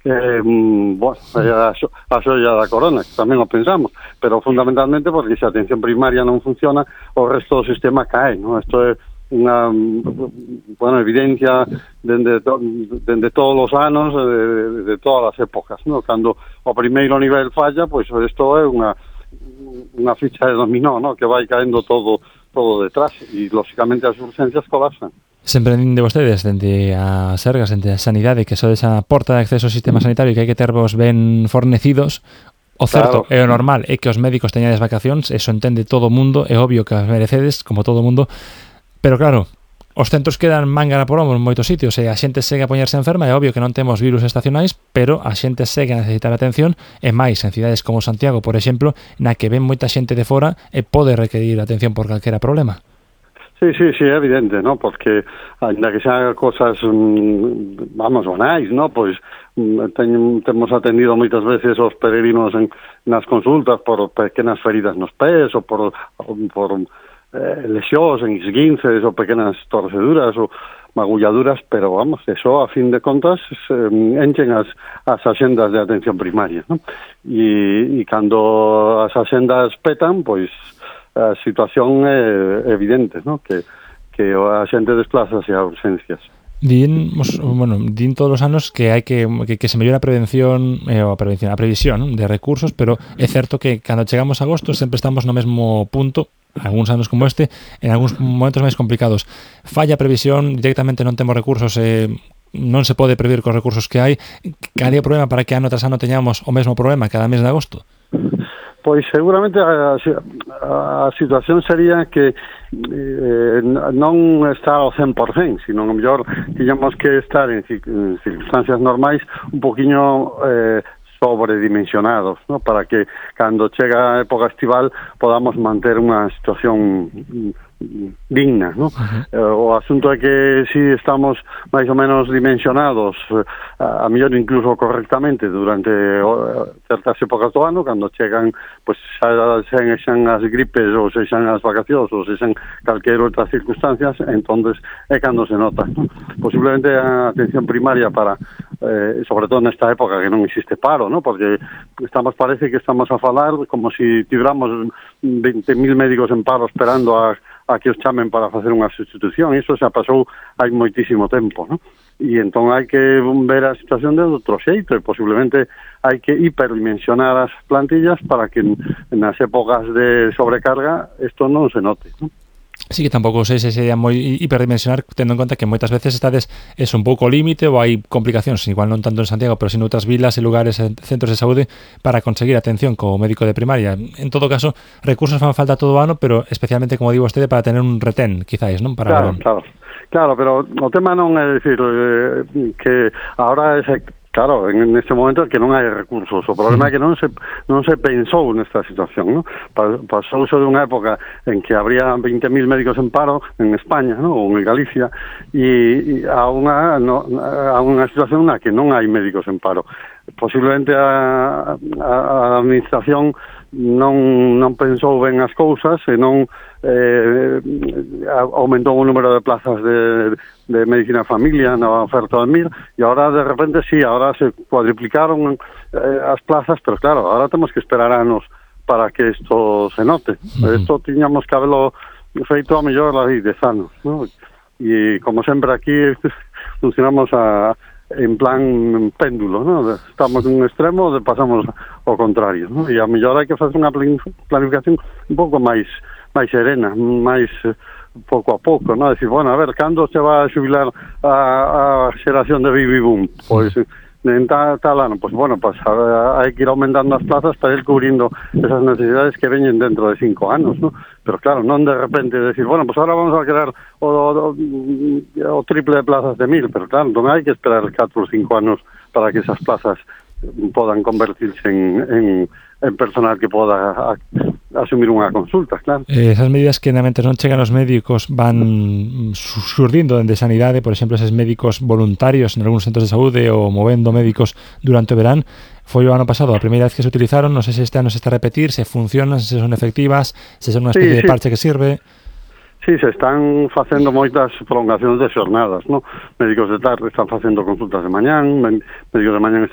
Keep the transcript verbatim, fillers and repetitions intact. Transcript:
eh, bueno, a, a xoia da corona, que tamén o pensamos, pero fundamentalmente porque se a atención primaria non funciona, o resto do sistema cae, non? Isto é unha, bueno, evidencia dende, dende todos os anos, de, de todas as épocas, non? Cando o primeiro nivel falla, pois isto é unha unha ficha de dominó, non? Que vai caendo todo todo detrás e, lógicamente, as urgencias colapsan. Sempre din de vostedes, dende a Sergas, dende a Sanidade, que sodes a porta de acceso ao sistema sanitario e que hai que tervos ben fornecidos. O certo, claro, e o normal é que os médicos teñades vacacións, eso entende todo o mundo, é obvio que as merecedes, como todo o mundo, pero claro, os centros quedan manga por hombro en moitos sitios e a xente segue a poñerse enferma, é obvio que non temos virus estacionais, pero a xente segue a necesitar atención, e máis en cidades como Santiago, por exemplo, na que ven moita xente de fora e pode requerir atención por calquera problema. Sí, sí, sí, é evidente, ¿no? Porque ainda que sean cosas, vamos, banais, ¿no? Pois ten, temos atendido moitas veces os peregrinos en, nas consultas por pequenas feridas nos pés ou por, por eh, lesións en esguinces ou pequenas torceduras ou magulladuras, pero vamos, eso a fin de contas eh, enchen as, as axendas de atención primaria, ¿no? E, e cando as axendas petan, pois a situación é evidente, ¿no? Que, que a xente desplázase a urgencias. Din, bueno, din todos os anos que hai que, que, que se mellora a prevención, eh, a prevención, a previsión de recursos, pero é certo que cando chegamos a agosto sempre estamos no mesmo punto, algúns anos como este, en algúns momentos máis complicados. Falla a previsión, directamente non temos recursos, eh, non se pode prever cos recursos que hai. Cal é o problema para que ano tras ano teñamos o mesmo problema cada mes de agosto? Pois seguramente a, a, a situación sería que eh, non está ao cen por cen, sino a mellor tiñamos que estar en, en circunstancias normais un poquinho eh, sobredimensionados, ¿no? Para que cando chega a época estival podamos manter unha situación digna, ¿no? Uh-huh. Eh, o asunto é que si estamos máis ou menos dimensionados, a, a mellor incluso correctamente durante o, certas épocas do ano, cando chegan, pues, xa, xan as gripes ou se xan as vacacións ou se xan calquer outras circunstancias, entonces é cando se nota, ¿no? Posiblemente a atención primaria para, eh, sobre todo nesta época que non existe paro, ¿no? Porque estamos, parece que estamos a falar como si tivéramos veinte mil médicos en paro esperando a a que os chamen para facer unha sustitución. Iso xa pasou hai moitísimo tempo, ¿no? E entón hai que ver a situación de outro xeito e posiblemente hai que hiperdimensionar as plantillas para que nas épocas de sobrecarga isto non se note, ¿no? Sí, que tampouco sei se sería moi hiperdimensionar, tendo en conta que moitas veces estades es un pouco límite ou hai complicacións, igual non tanto en Santiago, pero sin outras vilas e lugares, e centros de saúde, para conseguir atención co médico de primaria. En todo caso, recursos fan falta todo o ano, pero especialmente, como digo vostede, para tener un retén, quizáis, non? Para claro, claro, claro, pero o tema non é dicir eh, que agora é claro, en este momento é que non hai recursos. O problema é que non se non se pensou nesta situación, ¿no? Pasouse de unha época en que habría veinte mil médicos en paro en España, ¿no? Ou en Galicia, e, e a unha no, a unha situación na que non hai médicos en paro. Posiblemente a, a, a administración non non pensou ben as cousas e non eh, aumentou o número de plazas de, de medicina de familia na oferta do M I R e agora de repente sí, agora se cuadriplicaron eh, as plazas, pero claro, agora temos que esperar anos para que isto se note. Isto uh-huh. tiñamos que haberlo feito a mellor hai dez anos, ¿no? E como sempre aquí funcionamos a en plan péndulo, ¿no? Estamos en un extremo e pasamos ao contrario, ¿no? E a mellor hai que facer unha planificación un pouco máis máis serena, máis pouco a pouco, ¿no? Decir, bueno, a ver, cando se va a xubilar a, a xeración de baby boom? Pois en tal, tal ano, pues bueno, pues hai que ir aumentando as plazas para ir cubrindo esas necesidades que veñen dentro de cinco anos, ¿no? Pero claro, non de repente decir, bueno, pues ahora vamos a crear o, o, o triple de plazas de mil, pero claro, non hai que esperar catro ou cinco anos para que esas plazas podan convertirse en, en, en personal que poda a, asumir unha consulta, claro. Eh, esas medidas que realmente non chegan os médicos van surdindo dende Sanidade, por exemplo, eses médicos voluntarios en algúns centros de saúde ou movendo médicos durante o verán. Foi o ano pasado a primeira vez que se utilizaron, non sei se este ano se está a repetir, se funcionan, se son efectivas, se son unha especie sí, sí. de parche que sirve. Sí, se están facendo moitas prolongacións de xornadas, ¿no? Médicos de tarde están facendo consultas de mañán, médicos de mañán